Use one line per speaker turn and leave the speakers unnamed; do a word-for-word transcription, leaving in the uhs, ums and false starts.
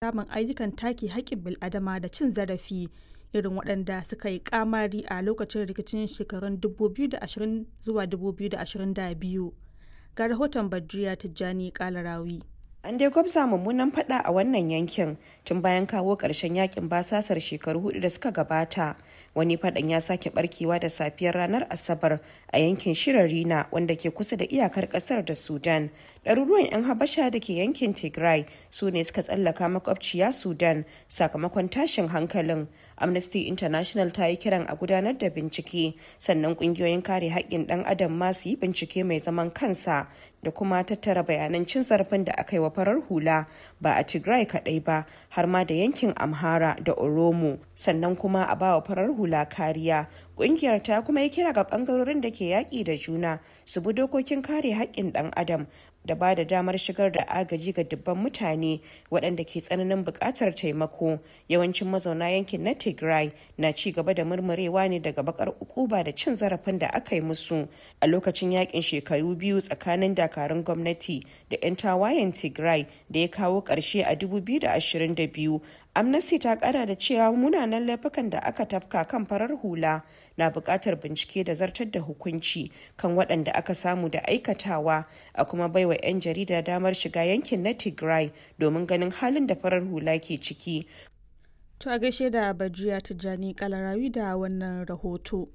Samun ayyukan take haƙƙin bil'adama da cin zarafi irin waɗanda suka yi ƙamari a lokacin rikicin shekarun dubu biyu da ashirin zuwa dubu biyu da ashirin da biyu. Ga rahoton Badriya Tijjani Kalarawi.
An dai gwabza mummunan fada a wannan yankin tun bayan kawo ƙarshen yakin basasar shekaru hudu da suka gabata. Wani fadan ya sake barkewa da safiyar ranar Asabar a yankin Shirarina, wanda ke kusa da iyakar kasar da Sudan. Ɗaruruwan 'yan Habasha da ke yankin Tigray su ne suka tsallaka makwabciya Sudan sakamakon tashin hankalin. Amnesty International ta yi kiran a gudanar da bincike, sannan ƙungiyoyin kare haƙƙin ɗan adam ma su yi bincike mai zaman kansa da kuma tattara bayanan cin zarafin da aka yi wa farar hula, ba a Tigray kaɗai ba, har ma da yankin Amhara da Oromo, sannan kuma a bawa farar hula kariya. Ƙungiyar ta kuma yi kira ga ɓangarorin da ke yaƙi da juna su bi dokokin kare haƙƙin ɗan adam da ba da damar shigar da agaji ga dubban mutane waɗanda ke tsananin buƙatar taimako. Yawancin mazauna yankin na Tigray na ci gaba da murmurewa ne daga bakar ukuba da cin zarafin da aka yi musu a lokacin yakin shekaru biyu tsakanin dakarun gwamnati da 'yan tawayen Tigray da ya kawo ƙarshe a dubu biyu da ashirin da biyu. Amnesty ta kara da cewa munanan laifukan da aka tafka kan farar hula na buƙatar bincike da zartar da hukunci kan waɗanda aka samu da aikatawa, a kuma baiwa 'yan jarida damar shiga yankin na Tigray domin ganin halin da farar hula ke ciki.
To, a gaishe da Badriya Tijjani Kalarawi da wannan rahoto.